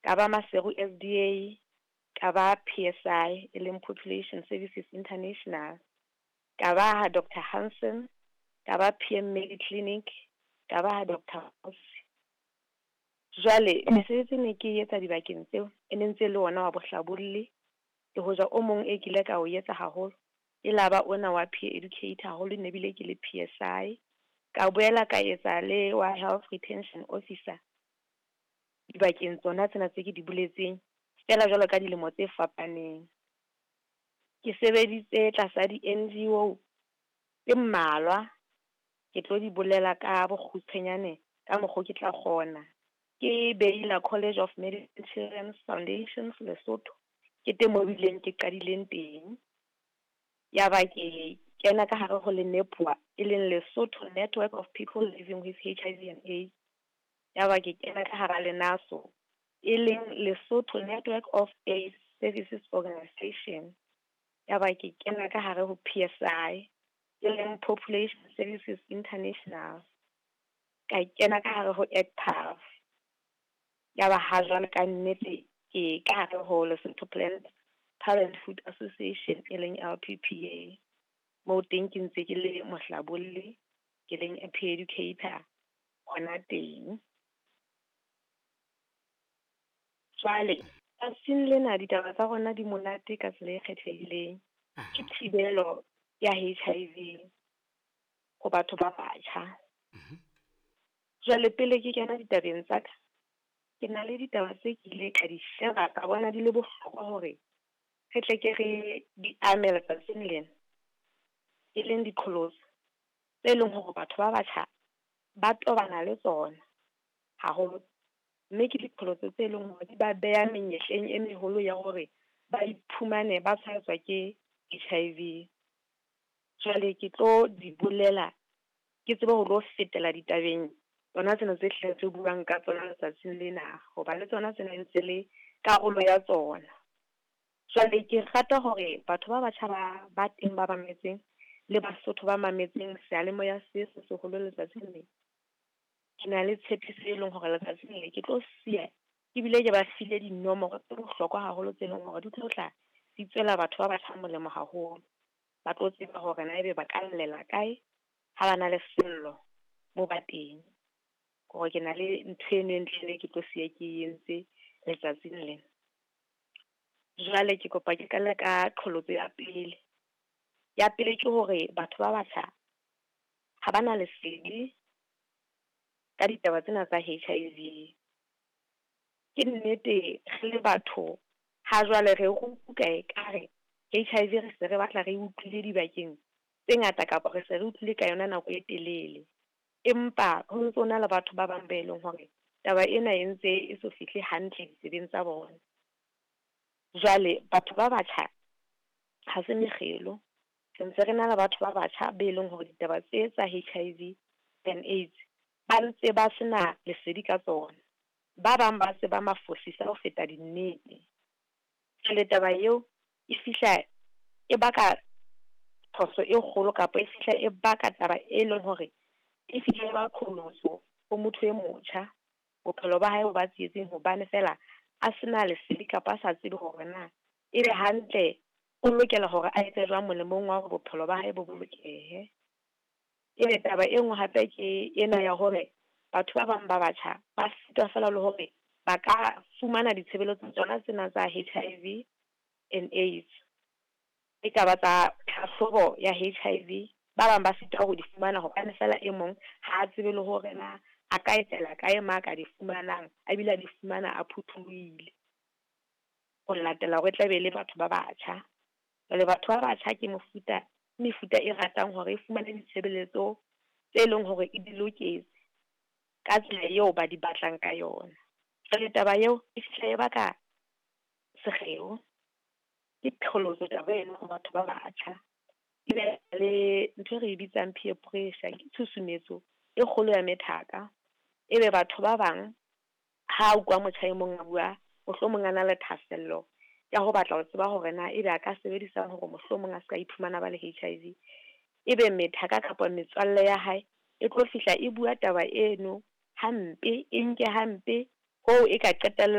Ka ba Maseru SDA, ka ba PSI e leng Population Services International, ka ba ha Doctor Hansen, ka ba PM Mediclinic, ka ba ha Doctor Jwale mesebetsi ne ke etsa dibakeng tseo e ne ntse le ona wa bohlabolli, le hoja o mong e kile ka o etsa haholo e laba ona wa peer educator haholo ne bile ke le PSI. Ka boela ka etsa le wa health retention officer dibakeng tsona tsena tse ke di boletseng, feela jwalo ka dilemo tse fapaneng. Ke sebeditse tlasa di-NGO tse mmalwa, ke tlo di bolela ka bokgutshwanyane ka mokgo ke tla kgona. Ke Baylor College of Medicine Children's Foundation Lesotho, ke teng mo bileng ke qadileng teng. Ya ba ke kena ka hare ho le e leng Lesotho Network of People Living with HIV and AIDS. Ya ba ke kena ka hara LENASO, e leng Lesotho Network of AIDS Services Organisation. Ya ba ke kena ka hare ho PSI, e leng Population Services International. Ka kena ka hare ho ECPAF. Ya ba ha jwale ka nnete ke ka hare ho Lesotho Planned Parenthood Association e leng LPPA. Moo teng ke ntse ke le mohlabolli, ke leng a peer educator hona teng. Jwale tsatsing lena ditaba tsa rona di monate ka tsela e kgethehileng. Ke thibelo ya HIV ho batho ba batjha. Jwale pele ke kena ditabeng tsa ka, ke na le ditaba tse ke ile ka di sheba ka bona di le bohlokwa hore re tle ke re di ame letsatsing lena, e leng diqholotso tse leng hore batho ba batjha ba tobana le tsona haholo, mme ke diqholotso tse leng hore di ba beha menyetleng e meholo ya hore ba iphumane ba tshwaetswa ke HIV. Jwale ke tlo di bolela ke tsebe ho lo fetela ditabeng tsona tsena tse hle tse buang ka tsona letsatsing lena, hoba le tsona tsena ntse le karolo ya tsona. Jwale ke rata hore batho ba batjha ba teng ba mametseng le Basotho ba mametseng seyalemoya se se seholo letsatsing lena. Ke na le tshepiso e leng hore letsatsing le ke tlo siya ebile ke ba file dinomoro tse bohlokwa haholo tse leng hore di tlo tla di tswela batho ba batjha molemo haholo. Ba tlo tseba hore na ebe ba ka llela kae ha ba na le sello moo ba teng. Hore ke na le ntho eno e ntle ke tlo siya ke entse letsatsing lena. Jwale ke kopa ke qale ka qholotso ya pele. Ya pele ke hore batho ba batjha ha ba na lesedi ka ditaba tsena tsa HIV. Ke nnete re le batho ha jwale re utlwa ekare HIV re se re batla re utlwile dibakeng tse ngata kapa re se re utlwile ka yona nako e telele. Empa ho ntso na le batho ba bang be leng hore taba ena e ntse e so fihle hantle ditsebeng tsa bona. Jwale batho ba batjha ha se mekgelo, re ntse re na le batho ba batjha be leng hore ditaba tse tsa HIV and AIDS ba ntse ba sena lesedi ka tsona. Ba bang ba tseba mafosisa ho feta dinnete. Jwale taba eo e fihla e baka phoso e kgolo kapa e fihla e baka taba e leng hore e fihla e ba qholotso ho motho e motjha. Bophelo ba hae bo ba tsietsing hobane fela a sena lesedi kapa a sa tsebe hore na ebe hantle o lokela hore a etse jwang molemong wa hore bophelo ba hae bo bolokehe. Ebe taba e nngwe hape ke ena ya hore batho ba bang ba batjha ba sitwa fela le hore ba ka fumana ditshebeletso tsona tsena tsa HIV and AIDS. E ka ba tsa tlhahlobo ya HIV, ba bang ba sitwa ho di fumana hobane fela e mong ha a tsebe le hore na a ka etela kae ma ka di fumanang, a bile a di fumana a phuthulohile. Ho latela hore e tla be le batho ba batjha. Jwale batho ba batjha ke mefuta e ratang hore e fumane ditshebeletso tse leng hore e di loketse ka tsela eo ba di batlang ka yona. Jwale taba eo e fihla e baka sekgeo, ke qholotso taba eno ho batho ba batjha. Ebe le ntho e re bitsang peer pressure, ke tshusumetso e kgolo ya methaka. Ebe batho ba bang ha utlwa motjha e mong a bua, mohlomong a na le thahasello ya ho batla ho tseba hore na ebe a ka sebedisa hore mohlomong a ska iphumana ba le HIV. Ebe methaka kapa metswalle ya hae e tlo fihla e bua taba eno hampe, e nke hampe hoo e ka qetella